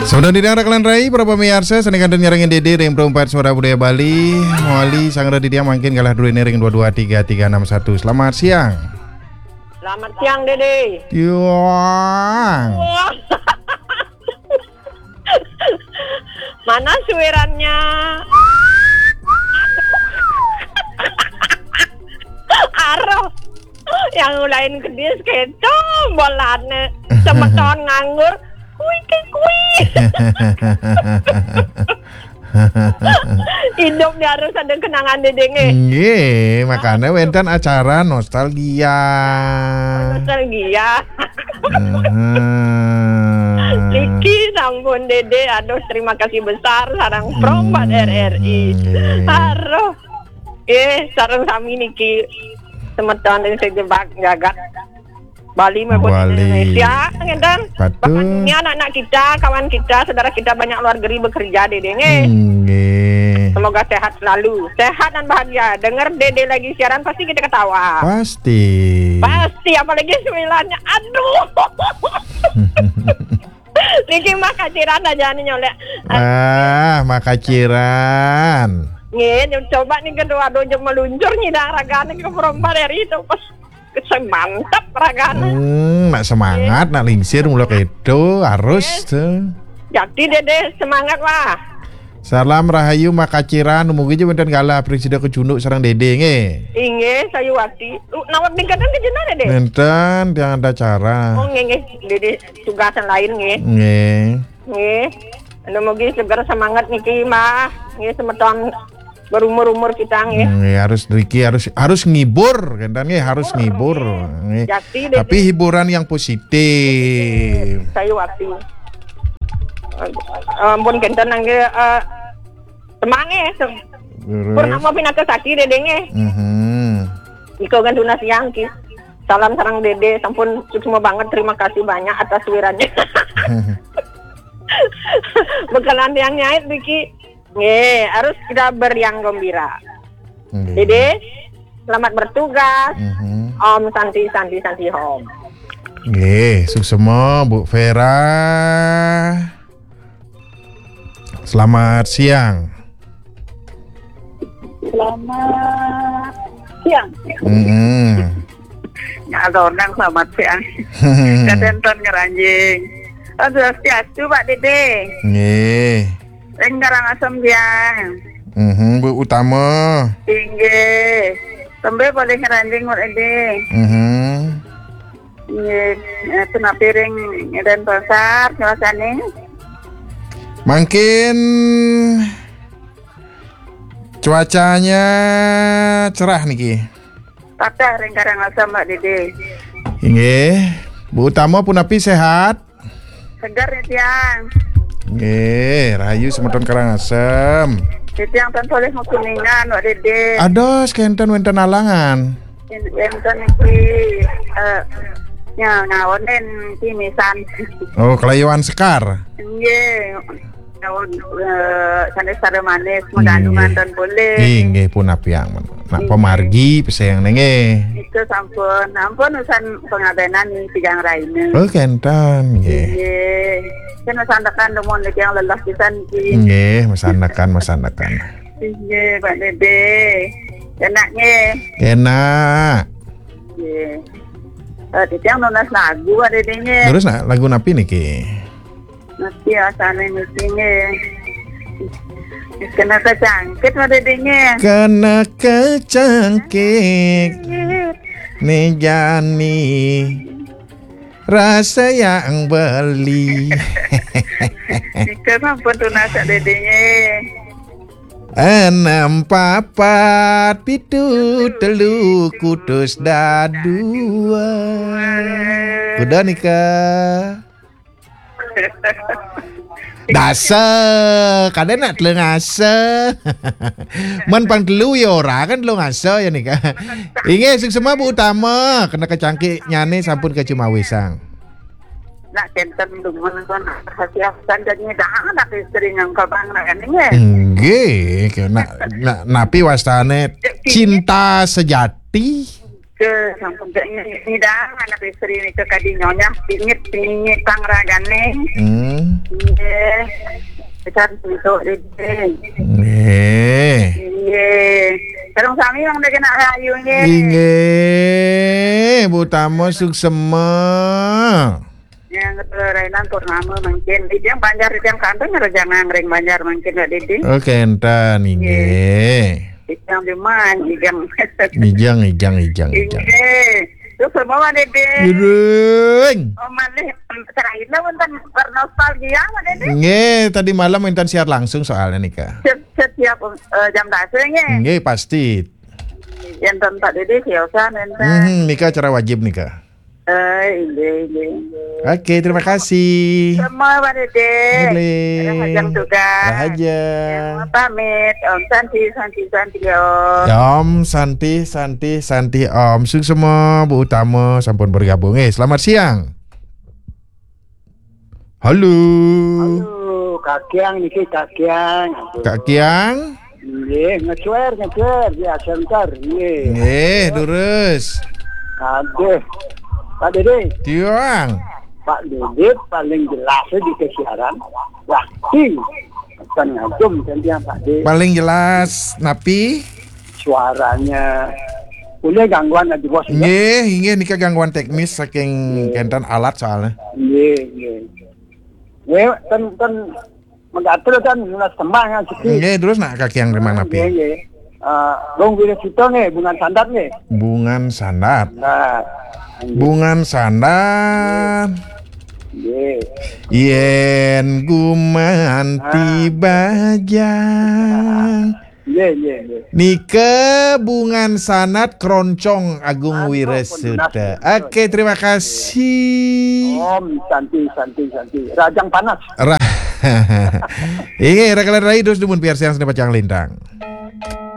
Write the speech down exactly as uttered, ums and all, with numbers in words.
Semeton titiang raka lan rai, para pamiarsa, sané kantun nyarengin Dédé ring Pro empat Suara Budaya Bali. Mawali sang raka titiang mangkin galah druéné ring dua dua tiga tiga enam satu. Selamat siang. Selamat siang, Dédé. Tiang. Wah. Mana suirannya? Aroh. Yang lain kedis kéto bolané. Semeton nganggur. Kui, kui, kui. Hidup nih harus ada kenangan, Dédé, nggih. Nggih, makanya wénten acara nostalgia. Nostalgia. Mhm. Niki sampun, Dédé. Aduh, terima kasih besar sareng Pro empat Hmm, R R I. Nggih. Aduh. Eh, sareng sami niki semeton ring sajebag jagat Bali maupun Bali. Indonesia, ngénten. Betul. Bahkan ini anak-anak kita, kawan kita, saudara kita banyak luar negeri bekerja, Dédé, nggih. Nggih. Semoga sehat selalu, sehat dan bahagia. Dengar Dédé lagi siaran, pasti kita ketawa. Pasti. Pasti, apalagi sembilannya. Aduh. Niki mah kaciran aja nih nyolek. Ah, mah kaciran. Nggih, coba nih kedua dojo meluncur nyidang ragané ke Pro empat R I itu. Pas mantap ragané. Hmm, nak semangat, nak lingsir mula kéto, harus Nggih. Tuh. Jati, Dédé, semangat, wah. Salam rahayu makaciran, mugi ja wénten galah prasida kacunduk sareng Dédé nggih. Inggih, sayuwakti. Uh, nawat ning kadang kejena, Dédé? Nénten, tiang ada acara. Oh, nggih, nggih. Dédé tugasan lain nggih. Nggih. Nggih. Anu mugi seger semangat niki, Mbah. Nggih, semeton berumur-umur kita nggih. Nggih, harus niki harus harus ngibur, kénten nggih, harus ngibur. Nggih. Jati, Dédé. Tapi hiburan yang positif. Sayuwakti. Ampun, kénten nggih, eh, Semangé, se-, Terus? Purnama pinaka saki, Dédé, nggih. Mhm. Iko kan tunas yang ki. Salam sareng Dédé, sampun suksma banget, terima kasih banyak atas wirannya. Bekenan yang nyait niki. Nggih, harus kita beriang gembira. Nggih. Dédé, selamat bertugas. Mhm. Om Santi, Santi, Santi, Om. Nggih, suksma, Bu Vera. Selamat siang. Selamat siang. Mm-mm. Nyak Zonang, selamat siang. Kadénten ngranjing. Oh, swastiastu, Pak Dédé. Nggih. Ring Karangasem, siang. Mhm, Bu Utama. Inggih. Tembe boleh ngranjing, Pak Dédé. Mhm. Nggih, eh, punapi ring Denpasar, cuacane? Mangkin cuacanya cerah niki. Patah ring Karangasem, Mbak Dédé. Inggih. Bu Utama punapi sehat? Seger nih, tiang. Nggih, rahayu semeton Karangasem. Nih, tiang tan polih makuningan, Mbak Dédé. Ados, kénten wénten alangan. Wénten iki, eh, nya, ngaonin kimisan. Oh, kelayuan sekar. Nggih. Daun, eh, sanés sada manis, hmm, magandungan, nggih, tan polih. Inggih, punapi ampun. Nak, inggih, pamargi pesengan nggih. Itu sampun, ampun usan pangabenan nih, tigang raina. Oh, kénten, nggih. Nggih. Kan masandekan dumun niki yang lelah pisan niki. Nggih, masandekan, masandekan. Inggih, Pak Dédé. Enak nggih. Enak. Nggih. Eh, titiang nunas lagu, Pak Dédé nggih. Terus, nak, lagu napi niki? Napi asané niki nggih? Kena kecangkit, Pak Dédé nggih. Kena kecangkit. Né jani rasa yang beli. Nika sampun tunas, Pak Dédé nggih. Enam papat pitu telu kutus dadua. Kuda nika. Dasa, kadén nak telu ngasa. Men pang telu ya ora kan telu ngasa ya nika. Inggih, suksma Bu Utama, kena kecangkit nyane sampun kacumawisang. Nak kénten dumun kon hati asan dan nyidang anak istri ngangkabang nak nggih. Nggih, nak, nak napi wastane cinta sejati. Ke, sampun cek nyidang anak istri nika kadi nyonya pingit pingit pang ragane. Hmm. Nggih. Santi, Dédé. Nggih. Inggih. Sareng sami Mang Dédé nak rahayu nggih. Inggih, Bu Tamo suksema. Yang rainan purnama mangkin. Titiang Banjar, titiang kantun, rajang ring Banjar mangkin, Pak Dédé. Oh, kénten, inggih. Titiang Biman, ijang. Ijang, ijang, ijang, ijang. Inggih. Suksema, Pak Dédé. Jurung. Oh, malih, seraina wénten bernostalgia, Pak Dédé. Nggih, tadi malam wénten siar langsung soalnya nika. Setiap, setiap, eh, jam dasa nggih. Nggih, pasti. Enten Pak Dédé siosan enten. Mhm, nika acara wajib nika. Eh, inggih, inggih, inggih. Oke, terima kasih. Semua, Pak Dédé. Nggih. Rahajeng tugas. Rahajeng. Ya, pamit. Om Santi, Santi, Santi, Om. Ya, Om Santi, Santi, Santi, Om. Suksema, Bu Utama sampun bergabung. Eh, selamat siang. Halo. Halo, Kakiang niki, Kakiang. Aduh. Kakiang? Nggih, ngecuer, ngecuer di center, nggih. Nggih, durus. Aduh. Pak Dédé. Tiang. Pak Dédé paling jelas di kesiaran. Wah, sing. Bukan ngagum kan dia, Pak Dédé. Paling jelas napi? Suaranya. Punya gangguan lagi, Bos, ya? Nggih, nggih, nika gangguan teknis saking, nggih, kénten alat soalnya. Nggih, nggih. Nggih, ten, ten megatel kan nunas tembang kan siki. Nggih, terus nak Kakiang rimang napi? Nggih, nggih. Eh, Gung Wiresita nggih, Bungan Sandat nggih. Bungan Sandat. Nah, nggih. Bungan Sandat. Nggih. Yén gumanti, ah, bajang. Nggih, nggih, nggih. Nika Bungan Sandat, Kroncong Agung, Agung Wiresuta. Wiresuta. Oke, terima kasih. Om Santi, Santi, Santi. Rajang panas. Ra-, inggih, rakalan rai terus dumun piarsian seni pacang lintang.